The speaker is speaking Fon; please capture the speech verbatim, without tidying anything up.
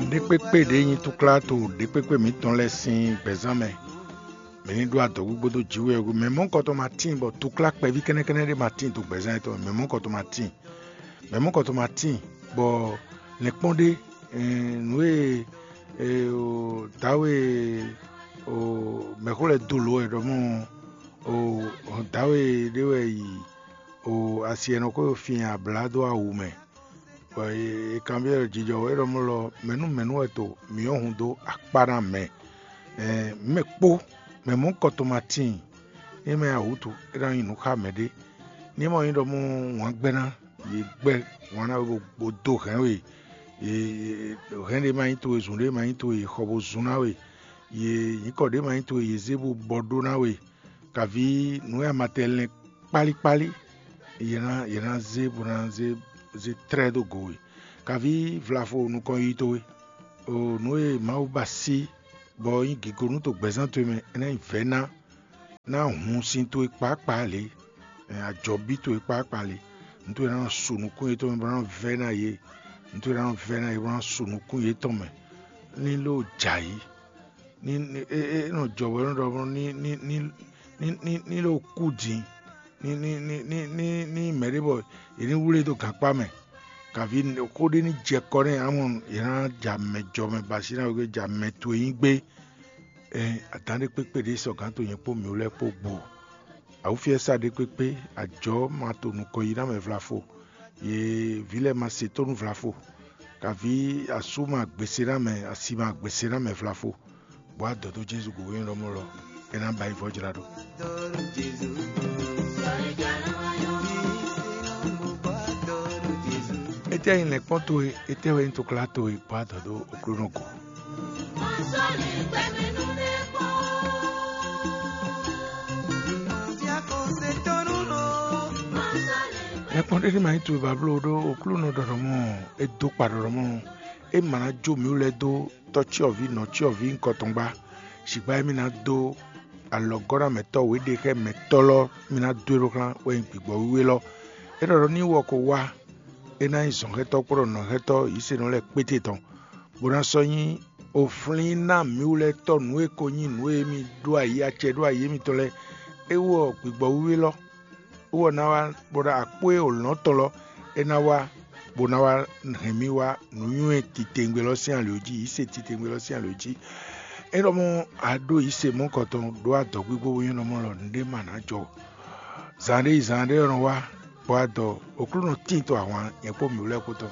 Ɖékpékpé ɖě nyí túklá to ɖěkpékpé mǐtɔn lɛ́ɛ sín gbɛ̌zán mɛ. Mǐ ní ɖó adɔ̌ gbígbó dó jǐ wɛ mɛ mɔ̌kɔtɔn ma tíin bɔ túklá kpɛví kɛ́nɛ́kɛ́nɛ́ ɖé ma tíin to gbɛ̌zán yětɔn mɛ mɔ̌kɔtɔn ma tíin. Mɛ mɔ̌kɔtɔn ma tíin bɔ lɛ̌nkpɔ́n ɖé nǔ e dǎwe mɛxó lɛ́ɛ dó lǒ wɛ ɖɔ mɔ dǎwe ɖé wɛ yi asi e nɔ xo fin ablá dó awu mɛ. Bɔ è kanbyɔ́ ɖɔ jijɔ wɛ ɖɔ mɔ lɔ mɛ̌ nú mɛ̌ nú wɛ to mǐ ɔ́ hun dó akpá ná mɛ. Mɛ kpó mɛ mɔ̌ kɔtɔn ma tíin. Ní mɛ awǔtu é ná nyí nǔ xá mɛɖé. Ní mɔ nyí ɖɔ mɔ wǎn gbɛ́ ná, yě gbɛ́ wǎn ná we bó dó hɛ̌n we. Hɛ̌n ɖé ma nyí towe, zun ɖé ma nyí towe, yě xɔ bó zun ná we. Yě nyǐkɔ ɖé ma nyí towe, yě zé bó bɔ ɖó ná we. Kaví nǔ e a ma tɛ lɛn kpálíkpálí, yě ná yě ná zé bó ná zé zé tlɛ́ dó go we. Kaví vlafo nukɔn yiyi towe, o nǔ e Mawu ba sí bɔ nyí gǐgonu to gbɛ̌zán towe mɛ, é ná nyí vɛ̌ ná, ná hun sin towe kpákpá lě, ajɔ̌bí towe kpákpá lě, nǔ towe ná nɔ su nukún yětɔn mɛ bó ná nɔ vɛ́ ná yě, nǔ towe ná nɔ vɛ́ ná yě bó ná su nukún yětɔn mɛ, ní ló jɛ ayǐ. Ní é é nɔ jɔ bɔ é nɔ ɖɔ ní ní ní ní ní ní ɖo kú din ní ní ní ní ní ní mɛ ɖé bɔ yě ní wlé dó gankpá mɛ. Kaví xó ɖé ní jɛ kɔ nɛ́ amɔ yě ná ja mɛ jɔ mɛ ba sí ná wegbe ja mɛ towe nyí gbé. Ɛ adán ɖé kpékpé ɖé sɔ gǎn to nyɛ kpó mǐ lɛ́ɛ kpó gbo. Awúfiɛ́sa ɖé kpékpé, ajɔ̌ ma to nukɔn yi ná mɛ vlafo. Yě vǐ lɛ́ɛ ma se tónú vlafo. Kaví asú ma gbèsè ná mɛ, asi ma gbèsè ná mɛ vlafo. Bɔ adɔ dó Jezu gǔdo nyɔ́ ɖɔmɔ lɔ, é ná ba yi vɔ́ jlá ɖó. Étɛ́ nyí lɛ̌nkpɔ́n towe? Étɛ́ wɛ nyí toklá towe? Bɔ adɔ dó Oklúnɔ go. Lɛ̌nkpɔ́n ɖé ní ma nyí towe ba bló ɖó Oklúnɔ ɖɔ ɖɔmɔ, é dó kpa ɖɔ ɖɔmɔ, é ma ná jó mǐ lɛ́ɛ dó tɔ́cyɔvǐ nɔcyɔvǐ nukɔntɔn gbá. Sǐgbá émí ná dó alɔgɔ́namɛtɔ́ wěɖexɛmɛtɔ́ lɔ mì ná dó e ɖó xlán wɛ nyí gbigbɔ wíwé lɔ. É ɖɔ ɖɔ ní wɔ ko wá, é ná nyí zɔ̌nxɛ́tɔ́ kpódó nɔ̌xɛ́tɔ́ yǐsenɔ lɛ́ɛ kpéte tɔn, bó ná sɔ́ nyí oflín ná mǐwlɛ́tɔ́ nǔ e ko nyí nǔ e mì ɖó ayǐ acɛ ɖó ayǐ émítɔn lɛ́ɛ. É wɔ gbigbɔ wíwé lɔ, é wɔ ná wá bó ná akpó e wǒ lɔn tɔn lɔ, é ná wá bó ná wá hɛn mì wá nǔnywɛ́ titewungbe lɔ sín ali jí, yǐ se titewungbe lɔ sín ali jí. É ɖɔ mɔ a ɖó yǐ se mɔ̌kɔtɔn ɖó adɔ̌ gbígbó bó nyɔ́ nɔ mɔ lɔ nǔɖé ma ná jɔ. Zan ɖé yi zan ɖé nɔ wá, bɔ adɔ Oklúnɔ tín to ahwan nyɛ kpó mǐ lɛ́ɛ kpó tɔn.